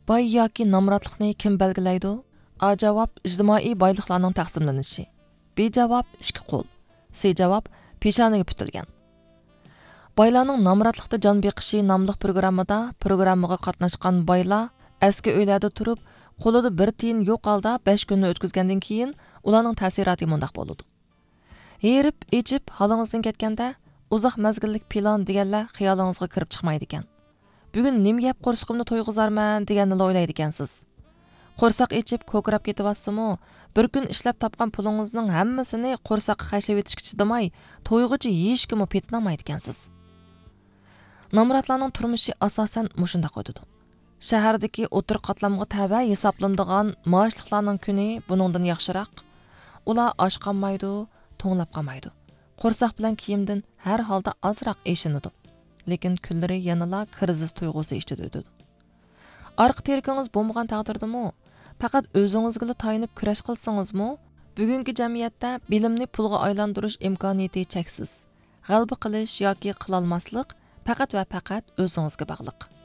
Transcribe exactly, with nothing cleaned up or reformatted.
باي ياكى نامراتلىقنى كىم بەلگىلەيدۇ؟ ئا جاۋاب ئىجتىمائىي بايلىقلارنىڭ تەقسىملىنىشى. بى جاۋاب ئىككى قول. سى جاۋاب پېشانىگە پۈتۈلگەن. بايلارنىڭ نامراتلىقتا جان بېقىشى ناملىق پروگراممىدا پروگراممىغا قاتناشقان بايلار ئەسكى ئۆيلەردە تۇرۇپ، قولىدا بىر تىيىن يوق ھالدا بەش كۈننى ئۆتكۈزگەندىن كېيىن، ئۇلارنىڭ تەسىراتى مۇنداق بولىدۇ. ھېرىپ، ئېچىپ، ھالىڭىزدىن كەتكەندە، ئۇزاق مەزگىللىك پىلان دېگەنلەر خىيالىڭىزغا كىرىپ چىقمايدىكەن. بۈگۈن نېمە يەپ قورسىقىمنى تويغۇزارمەن دېگەننىلا ئويلايدىكەنسىز. قورساق ئېچىپ، كوكىراپ كېتىۋاتسىمۇ، بىر كۈن ئىشلەپ تاپقان پۇلىڭىزنىڭ ھەممىسىنى قورساققا خەجلىۋېتىشكە چىدىماي، تويغۇچە يېيىشكىمۇ پېتىنالمايدىكەنسىز. نامراتلارنىڭ تۇرمۇشى ئاساسەن مۇشۇنداق ئۆتىدۇ. شەھەردىكى ئوتتۇرا قاتلامغا تەۋە ھېسابلىنىدىغان مائاشلىقلارنىڭ كۈنى بۇنىڭدىن ياخشىراق. ئۇلار ئاچ قالمايدۇ، توڭلاپ قالمايدۇ. قورساق بىلەن كىيىمدىن ھەر ھالدا ئازراق ئېشىنىدۇ. لېكىن كۈنلىرى يەنىلا كىرىزىس تۇيغۇسى ئىچىدە ئۆتىدۇ. ئارقا تىرىكىڭىز بولمىغان تەقدىردىمۇ، پەقەت ئۆزىڭىزگىلا تايىنىپ كۈرەش قىلسىڭىزمۇ، بۈگۈنكى جەمئىيەتتە بىلىمنى پۇلغا ئايلاندۇرۇش ئىمكانىيىتى چەكسىز. غەلىبە قىلىش ياكى قىلالماسلىق پەقەت ۋە پەقەت ئۆزىڭىزگە باغلىق.